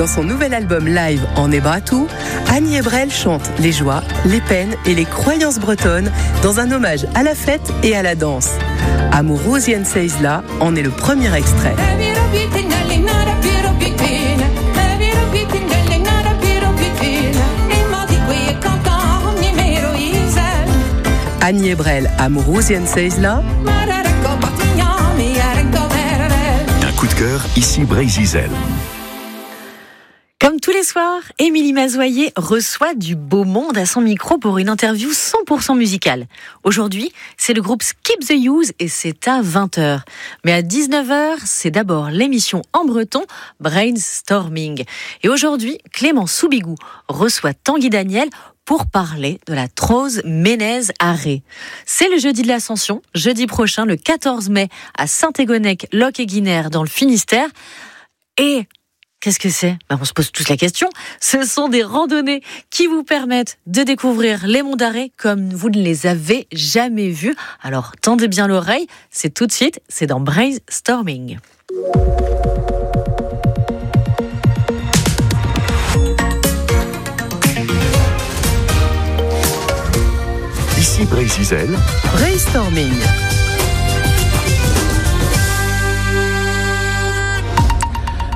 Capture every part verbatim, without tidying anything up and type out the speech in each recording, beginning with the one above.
Dans son nouvel album live En Ebratou, Annie Ebrel chante les joies, les peines et les croyances bretonnes dans un hommage à la fête et à la danse. Amourousien Seizla en est le premier extrait. Annie Ebrel, Amourousien Seizla. Un coup de cœur, ici Breizh-Izel. Comme tous les soirs, Émilie Mazoyer reçoit du beau monde à son micro pour une interview cent pour cent musicale. Aujourd'hui, c'est le groupe Skip the Use et c'est à vingt heures. Mais à dix-neuf heures, c'est d'abord l'émission en breton Brainstorming. Et aujourd'hui, Clément Soubigou reçoit Tanguy Daniel pour parler de la Troz Menez Arré. C'est le jeudi de l'Ascension, jeudi prochain, le quatorze mai, à Saint-Égonec, Loc-Éguiner, dans le Finistère. Et qu'est-ce que c'est ? Ben, on se pose tous la question. Ce sont des randonnées qui vous permettent de découvrir les monts d'Arrée comme vous ne les avez jamais vus. Alors tendez bien l'oreille, c'est tout de suite, c'est dans Brainstorming. Ici Breizh-Izel. Brainstorming.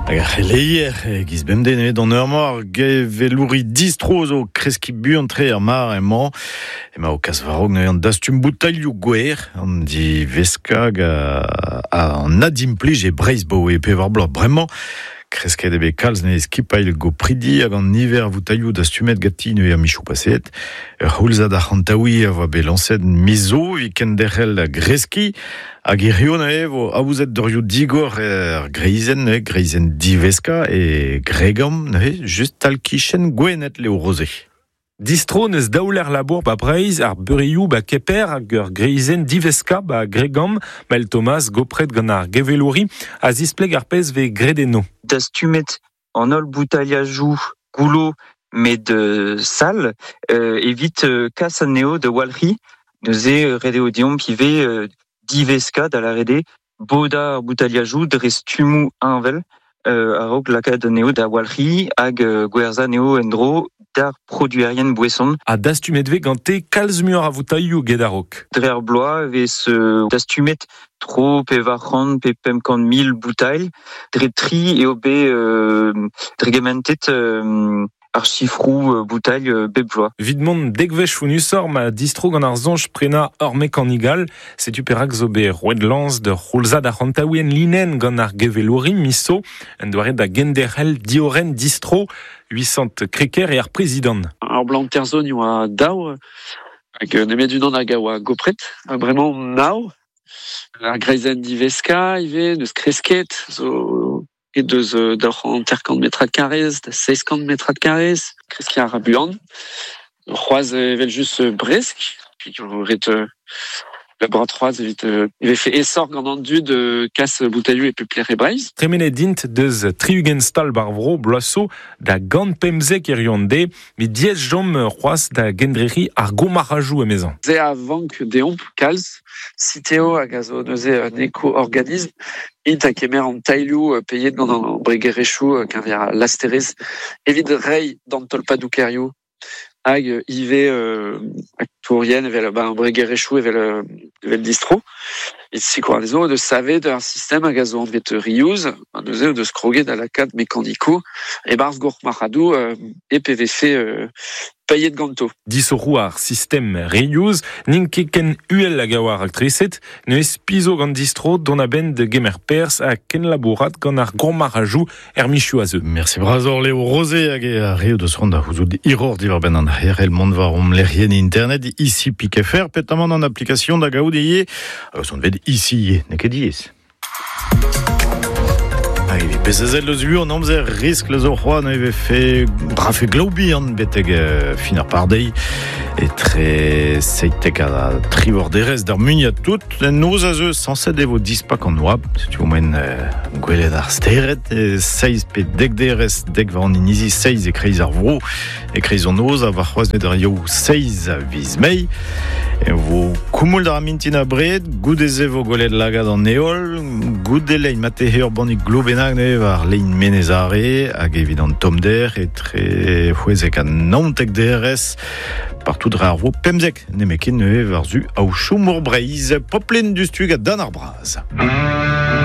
Hag ar c'heleier, giz bemdez nemet d'an eur mor, gevelouri distro zo kreski buan tre ar mar emañ. Ema o kas varog neuze an dastum boutailhoù gwer, an di veskag an adimplij e Breizh-Bo e pevar bloaz bremañ. Kresket eo bet kalz neuze skipailh go pridi hag an niver voutailhoù dastumet ganti neuze ar michoù paseet. Ur c'houlzad ar c'hantaoui a voa bet lañset mizo evit kenderc'hel da greskiñ. Hag hiziv neuze vo aouzet dorioù digor er greizenn, neuze, greizenn diveska e Gregam, neuze, just tal kichen Gwened Léo Rosé. Distro neus daouler labour ba Breizh ar beurioù ba Keper hag ur greizenn diveska ba Gregam, Maël Thomas gopret gant ar gevelouri a zispleg ar pezh vez graet eno. Dastumet an holl boutailhajoù goulo met euh, sal euh, evit euh, kas anezho da walc'hi neuze ret eo deomp ivez euh, diveska da lâret eo boda ar boutailhajoù dre stummoù heñvel euh, a-raok lakaat anezho da walc'hi hag euh, gwerzhañ anezho en-dro d'ar produerien boeson. A dastumet vez gante kalz muioc'h a voutailhoù get a-raok. Dre ar bloaz vez euh, dastumet tro pe var c'hant pe pemp kant mil boutailh. Dre tri eo bet euh, dre gementet euh, ar chifrou euh, boutailh euh, bep bloaz. Vit mont dek wech founusor ma distro gant ar soñj prena ur mekanigal, setu perak zo bet roet lañs d'ur c'houlzad ar c'hantaouien linen gant ar gevelouri miso, en doare da genderc'hel dioren distro huit cents kreker e ar prezidant. Ar blanc terzon oa daou, hag nemet unan hag a oa gopret, ha bremañ nav, ar greizenn diveska ivez, neus kresket, zo et deus daou hanter kant metrad karrez, da seizh kant metrad karrez, kreskiñ ar buan. C'hoazh evel just bresk, puis ret la bras troaz evit e vefe aesoc'h gant an dud kas boutailhoù e pep lec'h e Breizh. Tremenet int deus tri-ugent stal bar vro bloaz zo da gant pemzek hiziv an deiz, met diaes chom c'hoazh da gendrec'hiñ ar gomarrajoù emezañ. Se a vank deomp kalz, Citeo hag a zo neuze un éco-organisme, int a kemer an tailhoù peiet gant an bregerezhioù keñver lasterez, evit reiñ d'an tolpadoù kêrioù hag ivez euh, aktourien evel ba an bregerezhioù evel evel distro. Et sikour anezho de savet ar sistem hag a zo anvet reuse, neuze deus kroget da lakaat mekaniko e-barzh gourmarc'hadoù euh, e P V F euh, peiet ganto. Disoc'hoù ar sistem reuse, n'int ket ken uhel hag a oa ar aktriset, neuze spizo gant distro dont a-benn de gemer perzh ha kenlabourat gant ar gourmarc'hajoù er michoù a zeu. Merci brazor Léo Rosé hag e ar reo deus c'hoant da c'houzout hiroc'h diwar-benn an herrel mont war omp lec'hienn internet ici pik F R, petamant an application da gaout ivez, hag son vet ici ivez, n'eo ket diaes. Hag evit pesezel eus u an amzer riskl zo c'hoant e vefe rafe glav bihan betek euh, fin ar pardeiz etre seitek ha tri derez d'ar muiañ tout en noz a zeu sañset e vo dispak an oabl setu o men euh, gwelet ar stered e seizh pe dek derez dek war an inizi seizh e kreiz ar vro e kreiz an noz a war c'hoazh net ar yaou seizh a viz mae. E vo koumoul d'ar mintin a bred, goudeze vo gwelet lagad an eol, goude lein matehe ur bannig globenag ne war lein menezare, hag evit an tomder etre c'hwezek ha naontek derez, partout dre ar vo pemzek, nemekin neuze war zu aochou mor Breiz, poplen du stug a dan ar braz.